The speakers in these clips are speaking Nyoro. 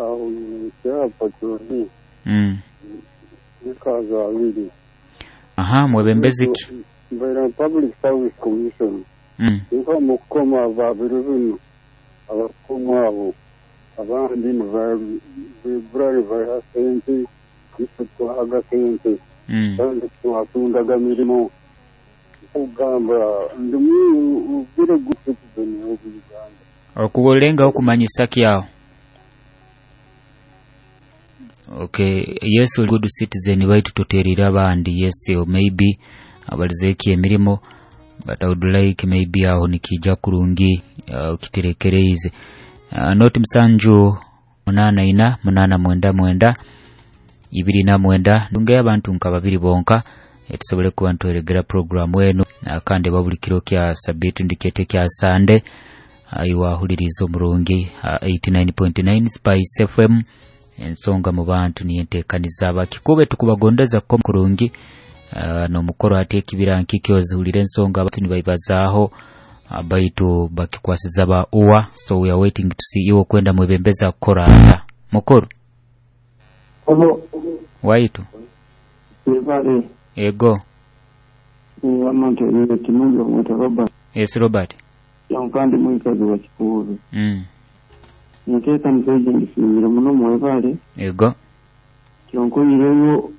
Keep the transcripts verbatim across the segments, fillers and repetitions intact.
Aho kyapa kyoni. Mm. Nikaza abiri. Aha, mwebembezi ki? Mbaira Public Service Commission. Mm. Nka mukoma babiri bino abakoma abo abandi nibagura baha sente itwe twahaga sente Mm. kandi twatundaga mirimo kugamba ndimu ubwire good citizen of Uganda. Okulenga okumanyisa kyawo. Okay, yes, good citizen baitu tuterera abandi. Yes, or maybe abalizeki emirimo, but I would like maybe aho nikija kurungi uh, kiterekereize. Uh, noti musanju munana ina munana mwenda mwenda ibiri na mwenda ndunge abantu nka babiri bonka etusobole kuba ntweregera programu eno uh, kandi babuli kiro kya sabitu ndikete kya Sande aiwahuliriza omurungi uh, eighty-nine point nine Spice F M ensonga mu bantu niyentekaniza abakikube tukubagondeza ko kurungi uh, no mukoro ati ekibira nkikyo ensonga abantu nibaibazaaho uh, baitu bakikwasiza ba uwa. So we are waiting to see iwo kwenda mwebembeza kukora ata mukuru obo waitu ebale ego amantu ekimungi omweta Robert. Yes, Robert. Kandi mwikazi wa Kikuube. Mm. Nteeka muzeeyi ngisimire muno mwebale. Ego. Kyonkoyireyo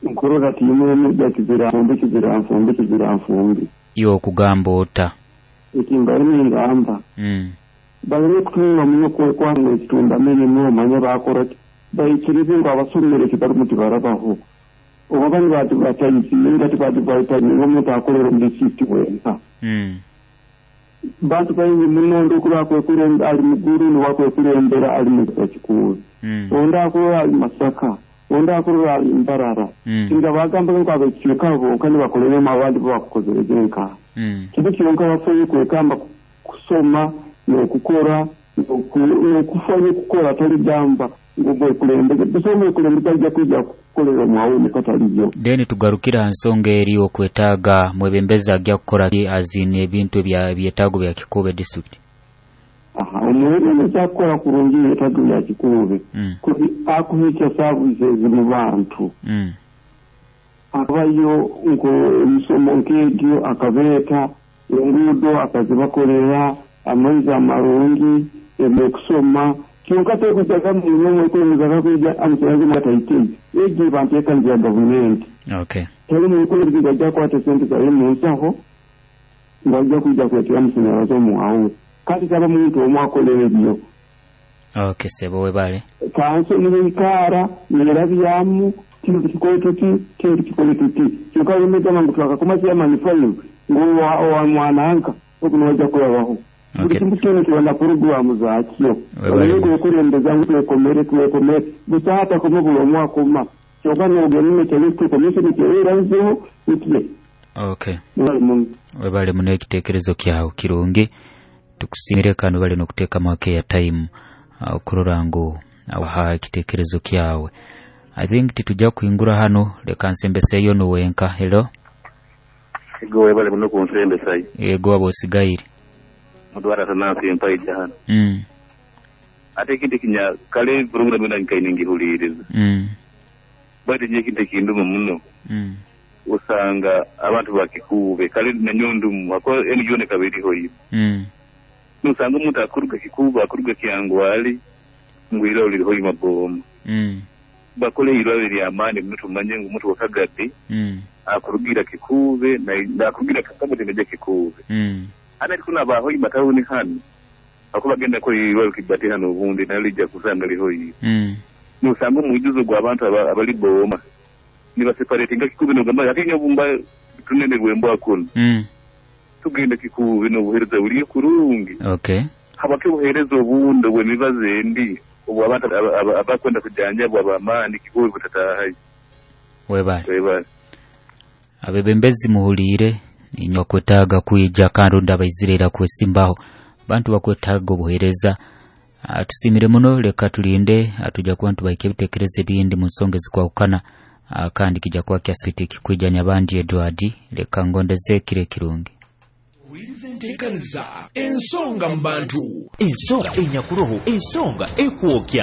nkorora tiimwe kizira nfumbi kizira nfumbi kizira nfumbi. Iwe okugamba ota? Ekimba ningamba. Mm. Baleme kutunga muno kwekwanga ekitunda mirimu omanye bakora ki. Bayikirize ngu abasomere kibari tibarabaho. Oba bani batibatayisinga tibatibayitanyiga omuntu akolera omu disitulikiti wenka. Mm. Bantu baingi muno ndikuba akwekulembera ali Muguru niwakwekulembera ali mu Kikuube. Mm. Ondi akulora ali Masaka, ondi akulora ali Mbarara. Mm. Singa bagamba ngu ab'ekicweka bonka nibakoleremu abandi bo bakukozereze nka. Mm. Kintu kyonka bafuye kwekamba kusoma n'okukora n'okufanya okukora toligamba ngu mwekulembeze. Busa omwekulembeze ajja kwijja kukolera omwawume kataliyo. Then tugarukira nsonga eri okwetaaga mwebembezi ajja kukora ki azine ebintu ebya byetaago bya Kikuube district. Aha, omwebembezi akukora kurungi ebyetaago bya Kikuube. Mm. Akuhikya services mu bantu. Mm. Akabayo nko emisomo nk'egyo akabeeta, enguudo akazibakolera, amaizi amarungi, ebyokusoma. Kyonka tekujaga muno omwekulembeze akakwija amusanyalaze mwataitei. Egyo banteekaniza ya gavumenti. Okay. Tali mwekulembeze ajja kukwata sente zaye mu nsaho ng'ajja kwijja kuleetera amasanyalaze omwawe. Kati taba muntu omu akolera ebyo. Okay, sebo webale. Kanso nibeikaara nerabyamu kino tukikole tuti, kino tukikole tuti. Kyonka wemegamba ngu twakakoma chairman five ngu wa mwananka oku niwajja kulabaho. Buli kintu kyona kiba na puroguramu zaakyo. Olwo okulembeza ngu twekomere twekomere busa hatakoma buli omu akoma. Kyonka n'ogenda nekyali commission kyeranzeho nikye. Okay. Webale muno ekiteekerezo kyawe kirungi. Tukusimire kano bali n'okuteekamu akeya time okurora ngu awaha ekiteekerezo kyawe. I think titujja kuhingura hano leka nsembeseyo nuwenka. Hello. Ego webale muno kunsembesayo. Ego abo osigaire. Mudwara tanansi empaija hano. Mm. Ate ekintu kinya kale program ena nkainingihuliriza. Mm. Bati nye ekintu ekinduma muno. Mm. Osanga abantu ba Kikuube kale nanyondumu ako enijone kabiriho yibo. Mm. Nusanga omuntu akuruga Kikuube akuruga Kyangwali ngwira oliriho Maboma. Mm. Bakole irwaliro ly'amaani muno tumanye ngu omuntu wakagadi Mm. akurugira Kikuube na akurugira Kakamate naja Kikuube. Mm. Hana kuna baho imatawuni hano ako bagenda ko irwaliro kibati hano obundi nalijja kusanga liho yibo. Mm. Nusanga omujuzo gw'abantu abali Boma nibaseparatinga Kikuube nogamba ate nyobumba tunene rwembo kuno. Mm. Tugenda Kikuube n'obuheereza buli kurungi. Okay. Habake obuheereza obundi obw'emibazi endi obwo abantu abakwenda kujanjabwa ab'amaani Kikuube butataahayo. Webale. Webale. Abebembezi muhuliire inywe kwetaaga kwija kandi ndabaizirira kwesimbaho. Bantu bakwetaaga obuheereza. Tusimire muno leka tulinde atuja kuba ntubaike ebitekerezo ebindi mu nsonga ezikwahukana kandi kijja kuba kyasiti kikwijanya abandi Edward leka ngondeze kire kirungi. Enteekaniza ensonga mu bantu ensonga enyakuroho ensonga ekwokya.